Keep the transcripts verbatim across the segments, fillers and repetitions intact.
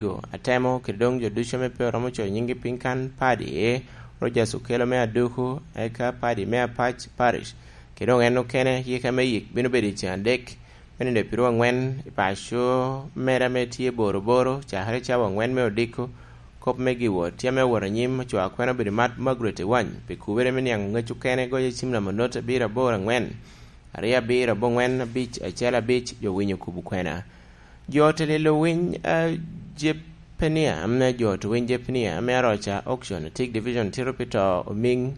Atemo kede doŋ jo ducu ame pe oromo coyo nyinggi piny kan, Padi Rogers Okello me Aduku, eka Padi me Apac Parish, kede doŋ en okene, yika me yik bino bedo i ceng adek me nino pyeraryo angwen i paco mere ame tye Boroboro, cakere cawa angwen me odiko. Kop me giwot tye ame owot anyim, ocoo akwena obedo Mat Margaret Ewany pi kubere me niaŋ ŋec okene, goyo cim namba onot abiro aboro angwen, aryo abiro abongwen abic acel abic, jo winyo kubo kwena. Jo te lelo winy a Jepenia, ame jo te winy Jepenia, ame aroca auction, Tik Division, tito pi to omiŋ.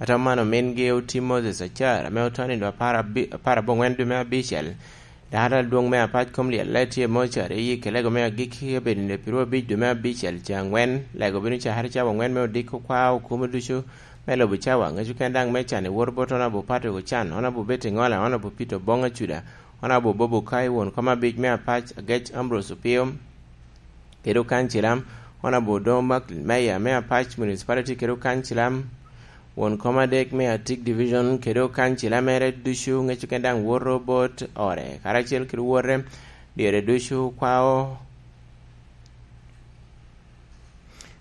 Atamo man omingi oti Moses Acar, ame oto nindo apar abi-, apar abongwen dwe me abicel. Dano adwoŋ me apac kom lyelle tye mocari i kelego me agikki, obedo nindo pyeraryo abic dwe me abicel, ca angwen, lego bino cakere cawa angwen me odiko kwa okumo ducu me lobo cawa, ŋec oken daŋ me can i wor bot Honorable Patrick Ocan, Honorable Betty Ŋola, Honorable Peter Oboŋ Acuda, Honorable Bob Okai, won kom abic me apac, Agec Ambrose Opio, kede okancilam, Honorable Odoŋo Macklin, Mayor me Apac Municipality kede okancilam, won kom adek me Atik Division kede okancilam mere ducu, ŋec oken daŋ woto bot ore, karacel kede wote, dyere ducu kwao,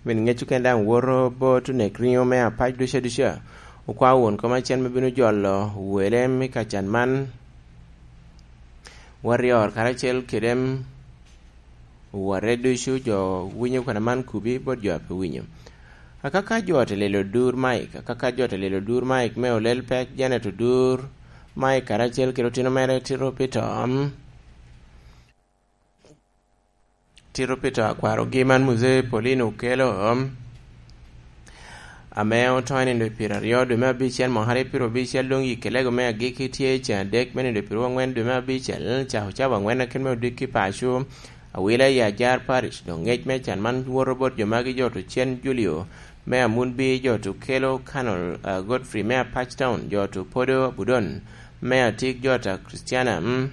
min ŋec oken daŋ woto bot onek riŋo me Apac ducu aduca. Okwao won kom acel me bino jolo wele me kacan man, Warrior karacel kede Owote ducu, jo winyo kwena man kubi bot jo a pe winyo. Akaka jo te lelo dur Mike, akaka jo te lelo dur Mike me olel pek, Janet Odur Mike karacel kede otino mere Tito Peter, Tito Peter akwarogi man Muzee Paulino Okello, ame oto i nindo pyeraryo dwe me abicel mwaka aryo pyerabicel, doŋ yikke lego me agikki tye i ceng adek me nindo pyeraryo angwen dwe me abicel, cako cawa angwen akin me odikki paco, Awila i Ajar Parish. Doŋ ŋec me can man woto bot jo magi, jo to Cen Julio me Amunbi, jo to Kelo Colonel, ah, Godfrey me Apac Town, jo to Podo Abudon me Atik, jo ta Christiana, mm,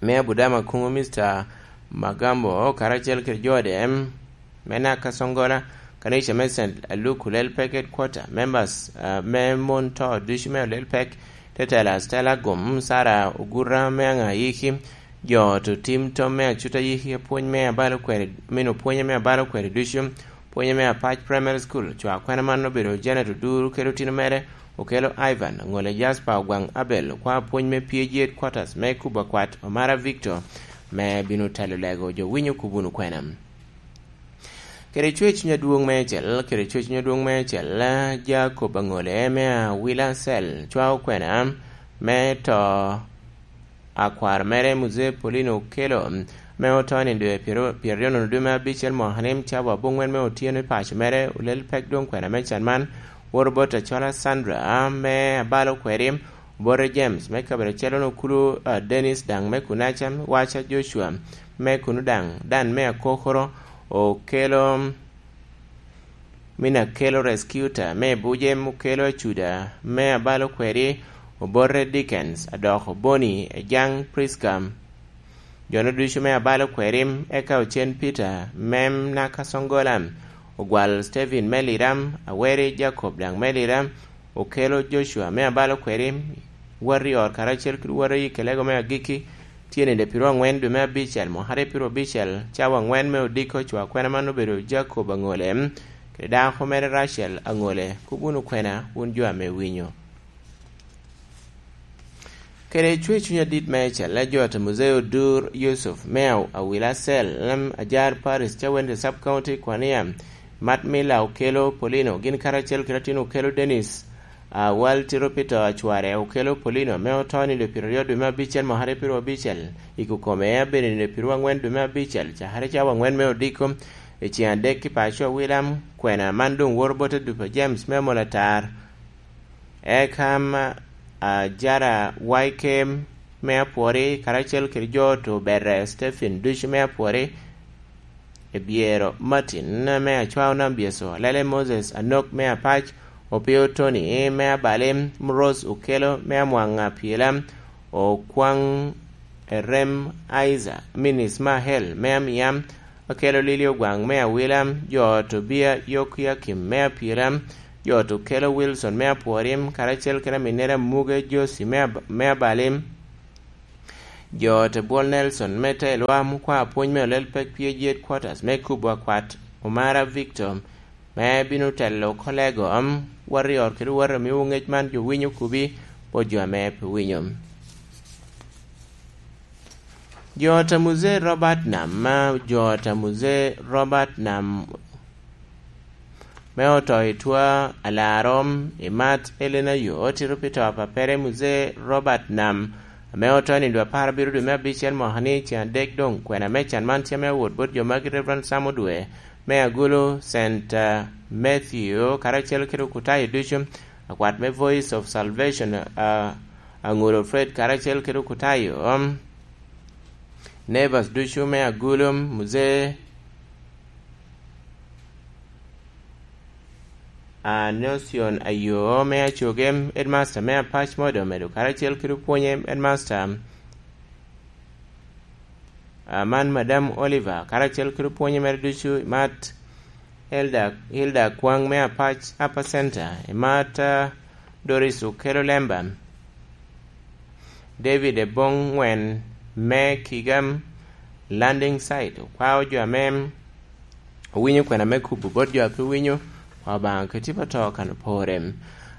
me Abudama Kuŋo, Mister Magambo, karacel kede jo de, mm, me Naka Songola, kanica me Saint Luke Olel Pek Headquarter, members, ah, me mon to ducu me Olel Pek, Tetela Stella Gum, Sara Ogura me Aŋayiki, jo to tim tom me Acuta Yiki, pwony me abalo kweri, mino pwonye me abalo kweri ducu, pwonye me Apac Primary School, cwa kwena man obedo Janet Odur kede otino mere, Okelo Ivan, Ŋole Jasper, Ogwaŋ Abel, okwa pwony me P G Headquarters me Kuba Kwat, Omara Victor, me bino telo lego jo winyo kubo wunu kwena. Kede cwer cuny adwoŋ meicel, kede cwer cuny adwoŋ meicel, Jacob Aŋole me Awila Cell, cwao kwena me to akwar mere Muzee Paulino Okello, me oto i nindo pyeraryo nono dwe me abicel mwaka ni, cawa aboŋwen me otyeno i paco mere, Olel Pek doŋ kwena me can man, woto bot Acola Sandra me Abalo Kweri, Obote James me kabedo acel, Okulu, ah, Dennis daŋ me Kunaca, Waca Joshua me kunu daŋ, Dan me Akokoro, Okello Mina Kelo Rescuta me Buje, Okelo Acuda me Abalo Kweri, Obote Dickens, Adoko Boni, Ejaŋ Prisca, jono ducu me Abalo Kweri, eka Ocen Peter, Mem Naka Songola, Ogwal Stephen me Lira, Aweri Jacob daŋ me Lira, Okelo Joshua me Abalo Kweri, Warrior karacel kede Warrior i kelego me agikki, tye nino pyeraryo angwen dwe me abicel, mwaka aryo pyeraryo abicel, cawa angwen me odiko, cwa kwena man obedo Jacob Aŋole, kede dako mere Rachel Aŋole, kub wunu kwena, wun jo ame winyo. Kede cwer cuny adit meicel, Ejot Muzee Odur Yusuf me Aw-, Awila Cell, em, Ajar Paris, Cawende Sub County, Kwania, Mat Mila Okelo Polino, gin karacel kede atin Okelo Dennis, Awal Tito Peter Acware, Okelo Polino, me oto nindo pyeraryo dwe me abicel mwaka aryo pyeraryo abicel, i kokome abedo nindo pyeraryo angwen dwe me abicel, cakere cawa angwen me odiko, i ceng adek ki paco Awila, kwena man doŋ woto bot Adupa James me Amolatar. Eka, am, Ajara Waike me Apwori, karacel kede jo to Bere Stephen ducu me Apwori, Ebyero Martin me Acwao Nam Byeso, Alele Moses Anok me Apac, Opio Tony me Abali, Rose Okelo me Amwaŋ Apyela, Okwaŋ Erem Isaac, Minis Mahel me Amiam, Akelo Lili Ogwaŋ me Awila, jo Tobia Yokiakim me Apyela, jo Okelo Wilson me Apworim, karacel kede aminnere Amuge Josi me Ab-, me Abalim, Jo te bwol Nelson me te lwam okwa apwony me olel pek P H D headquarters me kubo akwat Omara Victor, me bino telo kolego am warrior kede warrior miwo ngec man jo winyo kubi bot jo ame pe winyo. Jo ta Muzee Robert Nam, ma jo ta Muzee Robert Nam me oto i twa alarrom i mat Elena yo otito pi to a papere Muzee Robert Nam, ame oto i nindo apar abiro dwe me abicel mwaka ni ceŋ adek doŋ kwena me can man tye ame owot bot jo magi Reverend Sam Odwe me Agulu, Saint, ah, Matthew, karacel kede okutayo ducu, akwat me Voice of Salvation, ah, Aŋolo Fred, karacel kede okutayo, um, Nevers ducu me Agulu, Muzee Anocion Ayo me Acoge, Headmaster me Apac Modo Medo, karacel kede opwonye Headmaster Aman Madam Oliver, karacel kede opwonye mere ducu, i mat Elda, Hilda Kwaŋ me Apac, Upper Center, i mat, ah, Doris Okelo Lemba, David Eboŋ Ŋwen me Kigam Landing Site, okwao jo ame owinyo kwena me kubo bot jo a pe winyo, kwa Obaŋa keti pa to kan opore.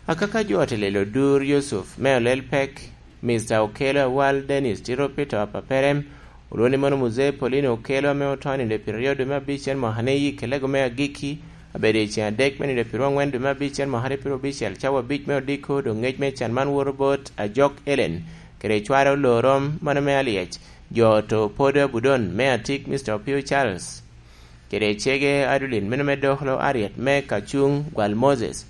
Akaka jo ote lelo Dur Yusuf me olel pek, Mister Okelo Awal Dennis tito pi to a papere, olwoni mono Muzee Paulino Okelo ame oto nindo pyeraryo dwe me abicel mwaka ni yik elego me agikki, abedo i ceŋ adek me nindo pyeraryo angwen dwe me abicel mwaka ni pyeraryo abicel cawa abic me odiko, doŋ ngec me can man woto bot Ajok Ellen, kede cware Olorom, mano me Alyec, jo to Podo Abudon me Atik, Mister Opio Charles, kede cege Adulin meno me Doklo, Ariet me Kacuŋ, Gwal Moses,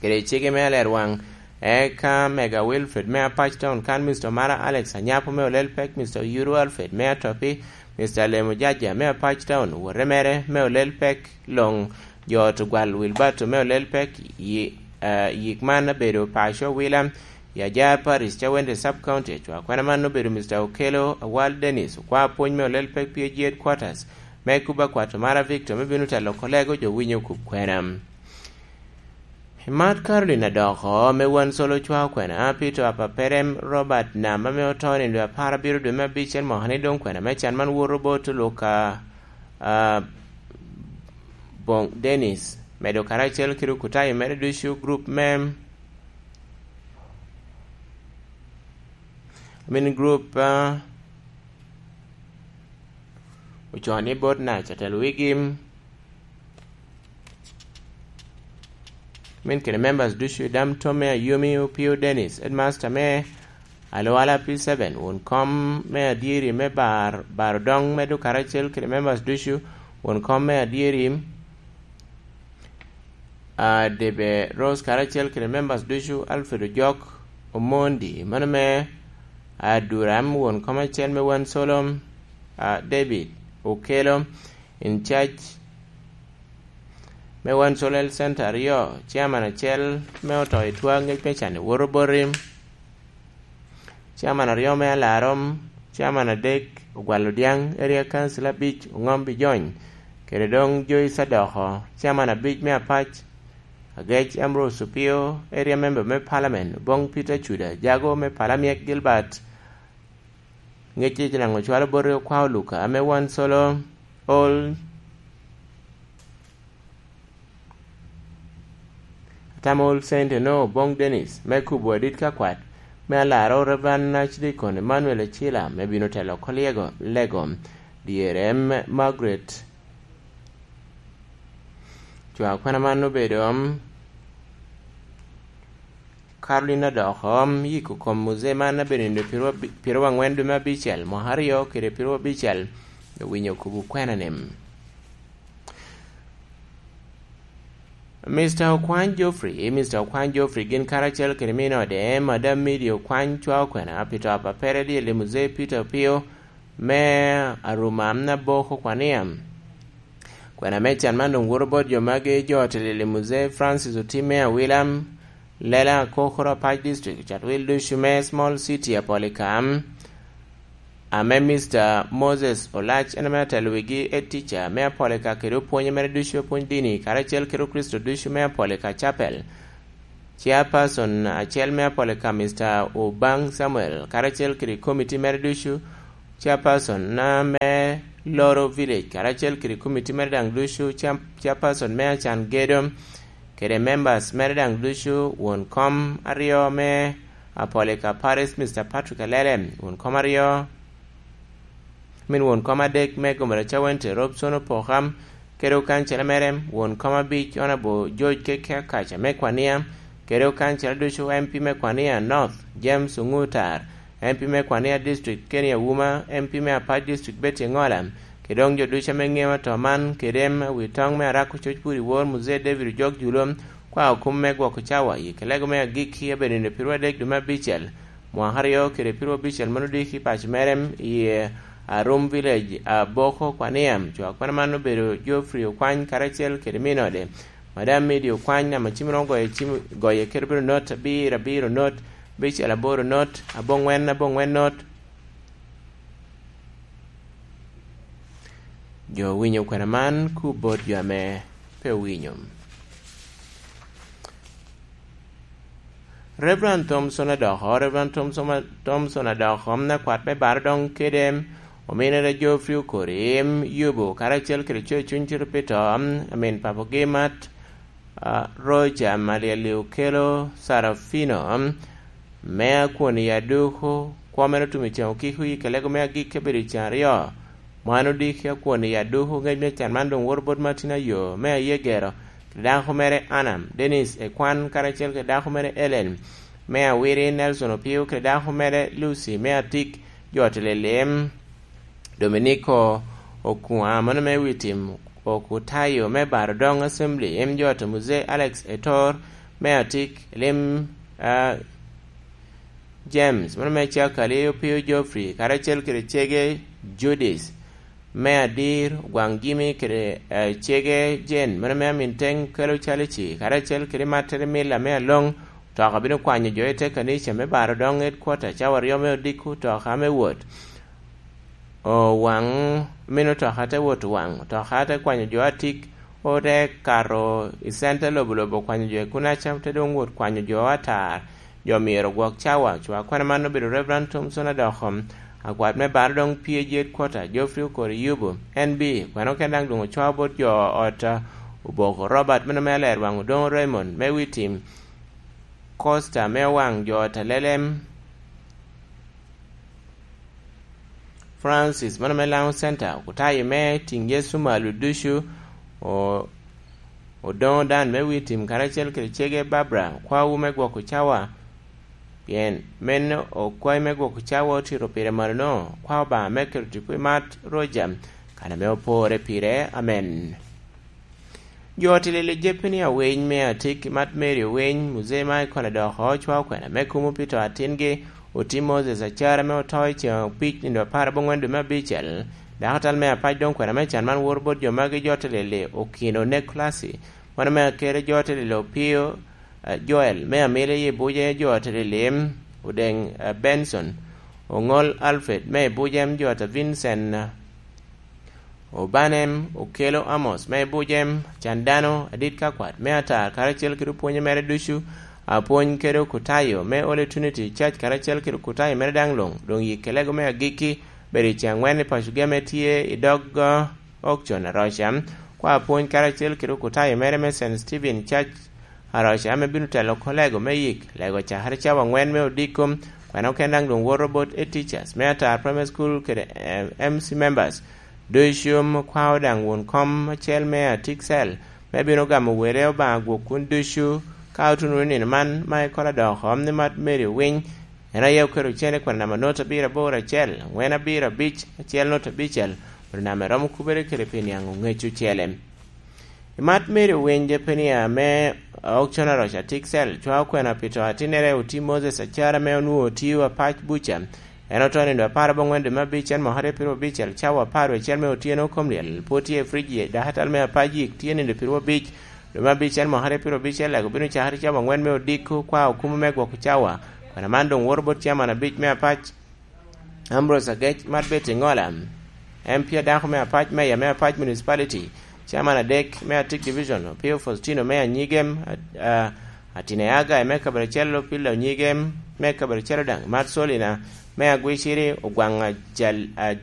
kede cege me Alerwaŋ, eka Mega Wilfred me Apac Town, kan Mister Mara Alex Anyapo me olel pek, Mister Yuru Alfred me Atopi, Mister Lemo Jaja me Apac Town, wote mere me olel pek, Loŋ jo ot Ogwal Wilbato me olel pek, yi-, eh, yik man abedo paco Wila, i Ajar Parish, Cawende Sub County, acwa kwena man obedo Mister Okelo Awal Dennis, okwa apwony me olel pek P H D headquarters, me kuba kwato Mara Victor, me bino telo kolego jo winyo kub kwena. I mat Caroline Adoko, me wan solo cwa kwena, Peter Apaperem, Robert Nam, ame oto nindo apar abiro dwe me abicel mwaka ni doŋ kwena me can man woto bot Luka, ah, Boŋ Dennis, medo karacel kede okutayo mere ducu, group me, I mean, group, ah, ocoo ni bot Nac atelo wigi. Min kede members ducu i dam tom me Ayomi, Opio Dennis, headmaster me Alwala P seven, won kom me adyeri me bar, bar odoŋ medo karacel kede members ducu, won kom me adyeri, a, Debe Rose karacel kede members ducu, Alfred Ojok Omondi, mano me Aduram, won kom acel me wan solo, a, David Okelo, in charge me wan solo Health Center aryo, chairman acel me oto i twa ngec me can i Woto Boti, chairman aryo me Alarom, chairman adek Ogwal Odiaŋ, area council abic Oŋom Bijony, kede doŋ Joyce Adoko, chairman abic me Apac, Agec Ambrose Opio, area member me parliament, Oboŋ Peter Cuda, jago me Palamiek Gilbert, ŋec icinaŋo cwalo boti okwa Oluka, ame wan solo Old Atamo Old Saint eno Oboŋ Dennis, me kubo adit ka kwat, me alaro Reverend Archdeacon Emmanuel Acila, me bino telo oko lyego, lego, dyere me Margaret. Cwa kwena man obedo, um, Carolina Adoko, um, yiko kom muzee man abedo nindo pyerwa-, pyeraryo angwen dwe me abicel, mwaka aryo kede pyeraryo abicel, owinyo kubo kwena ni. Mister Okwany Geoffrey, Mister Okwany Geoffrey gin karacel kede min ode, Madam Midi Okwany cwa okwena pi to a papere dyel i muzee Peter Opio me Aruma Naboko Kwania. Kwena me can man doŋ woto bot jo magi, jo otelel i muzee Francis Otim me Awila, Lela Kokoro Apac District, cat wil ducu me Small City Apolika, ame Mister Moses Olac en ame atelo wigi, head teacher me Apolika kede opwonye mere ducu, apwony dini, karacel kede Okricito ducu me Apolika Chapel. Chairperson acel me Apolika, Mister Obang Samuel, karacel kede komiti mere ducu, Chairperson na me Loro Village, karacel kede komiti mere daŋ ducu, Chair-, Chairperson me Acan Gedo, kede members mere daŋ ducu, won kom aryo me Apolika Parish, Mister Patrick Alele, won kom aryo, min won kom adek me Gomera Cawente, Robson Opoka, kede okancela mere, won kom abic, Honorable George Keke Akaca me Kwania, kede okancela ducu, M P me Kwania North, James Ongutar, M P me Kwania District, Kenny Auma, M P me Apac District, Betty Engola, kede doŋ jo ducu ame ŋeo ato man, kede ame wi toŋ me Arako Coc Pur i Wor, Muzee David Ojok Julo, kwa okum me gwoko cawa, i kelego me agikki, abedo nino piro adek dwe me abicel, mwaka aryo kede piro abicel, mano diki i paco mere, i Arum Village, Aboko, Kwania. Cwak kwena man obedo Geoffrey Okwany karacel kede min ode, Madam Mary Okwany, ame cim romo goyo cim, goye kede bedo not abiro abiro not, abicel aboro not, aboŋwen aboŋwen not. Jo owinyo kwena man ku bot jo ame pe owinyo. Reverend Thompson Adoko, Reverend Thompson, Thompson Adoko, akwat me Baro doŋ kede ominere Geoffrey Okori, yubo karacel kede Cocuny Tito Pito, amin papogi Mat, a, Roger Malieli Okelo Sarafino, me akwon i Aduku, kwo mere otum i ceŋ okiko i kelego me agikki abedo i ceŋ aryo. Mano diki akwon i Aduku, ŋec me can man doŋ woto bot Martin Ayo, me Ayegero, kede dako mere Anna, Dennis Ekwan, karacel kede dako mere Ellen, me Awiri, Nelson Opio, kede dako mere Lucy, me Atik, jo Tililim, Dominico Okua, mano me wi tim Okutayo, me Baro Doŋ Assembly, em jo to Muzee Alex Etor, me Atik, Lim, a, James, mano me Cakali, Opio Geoffrey, karacel kede cege Judith, me Adir, Ogwaŋ Jimmy, kede, eh, cege Jane, mano me Aminteŋ, kelo Calici, karacel kede Mattere Mila me Aloŋ, toka bino kwanyo jo i te kanica me Baro Doŋ Headquarter, cawa aryo me odiko, toka me wot. Owaŋ, mino toka te wot Owaŋ, toka te kwanyo jo Atik, ote kato i center lobo lobo kwanyo jo i Kunaca, te doŋ wot kwanyo jo atar. Jo myero ogwok cawa. Cwa kwena man obedo Reverend Thompson Adoko, akwat me Baro Doŋ P A G Headquarter, Geoffrey Okori Yubu, N B, kwena okene daŋ doŋ ocwao bot jo ot, a, Oboko Robert, meno me Alerwaŋ Odoŋo Raymond, me Witim Costa, me Owaŋ jo ot Alelem, Francis, mano me Laŋo Center, okutayo me Tiŋ Yecu Malo ducu, o-, Odoŋo Dan me Wi Tim karacel kede cege Barbara, kwawu me gwoko cawa, pien meno okwayi me gwoko cawa otito pire malo-no, kwa Obaŋa me keto tipo i mat Roja, kan ame opore pire. Amen. Jo tilili jeppe ni awiny me Atik, Mat Mary Owiny, Muzee Michael Adoko, ocwao kwena me kumo pi to atingi, oti Moses Acara ame oto i ceŋ abic nino apar aboŋwen dwe me abicel. Dako tal me apac doŋ kwena me can man woro bot jo magi, jo tilili Okino Nikolasi, mano me Akere, jo tilili Opio, eh, Joel me Amili i Buje, jo tilili Odeŋ, eh, Benson, Oŋol Alfred me i Buje, jo ta Vincent, eh, Obanem, Okelo Amos me Bujem, can dano adit ka kwat me atar, karacel kede opwonye mere ducu, apwony kede okutayo me Holy Trinity Church, karacel kede okutayo mere daŋ luŋ, doŋ yikki lego me agikki, bedo i ceŋ aŋwen i paco geme tye i dog, uh, Okcon Aroca, kwa apwony karacel kede okutayo mere me Saint Stephen Church, Aroca ame bino telo oko lego me yik, lego cakere cawa aŋwen me odiko, kwena okene daŋ doŋ woto bot e teachers me Atar Primary School kede, eh, M C members. Ducu kwao daŋ won kom acel me Atik Cell, me bino gamo wele Obaŋa gwok kun ducu, ka otuno nino man ma ikola dok om ni Mat Mary Owiny, en aye oketo cene kwena namba not abiro aboro acel, aŋwen abiro abic, acel not abicel, obedo namba eromo kubere kede pi niaŋ oŋec ocele. I Mat Mary Owiny, Jepenia me Okcon Aroca Atik Cell, cwao kwena pi to atinnere oti Moses Acara ame onwoŋo otio apac buca. En oto nino apar aboŋwen dwe me abic, en mwaka aryo piro abicel, cawa apar wie acel me otyeno, kom lyel pwod tye i frij, dakatal me apac yik tye nino piro abic dwe me abic, en mwaka aryo piro abicel, lego bino cakere cawa aŋwen me odiko, kwa okumo me gwoko cawa. Kwena man doŋ woto bot caman abic me apac. Ambrose Agec, Mat Betty Ŋola, M P adako me Apac, Meya me Apac Municipality, Chairman adek me Atik Division, Opio Faustino me Anyigem, a, a, Atina Agai me kabedo acel, Lopilla Onyige me kabedo acel, daŋ Mat Solina me Agwiciri, Ogwaŋ Ajal-, Aj-,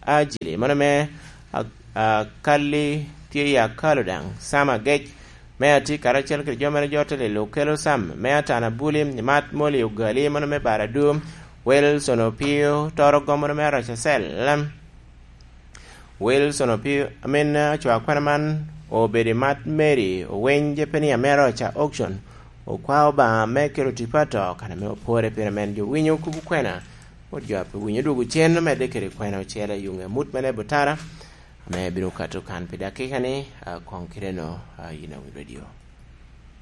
Ajili, mano me A-, Akalli tye i Akalo, daŋ Sam Agec me Ati karacel kede jo mere jo te lelo okelo Sam me Atana Buli, Mat Moli Ogali, mano me Baradu, Wilson Opio Toro Gom, mano me Aracacel. Wilson Opio, amin, eh, acwa kwena man obedo i Mat Mary Oweny, Jepenia me Aroca Auction, okwa Obaŋa me kelo tipo ato, kan ame opore pire men jo winyo kubu kwena, mot jo a pe winyo dwogo cen omedde kede kwena ocele i yuŋe amut me Nebutara, ame bino kato kan pi dakika ni, a, koŋ kite no, a, yin awi radio.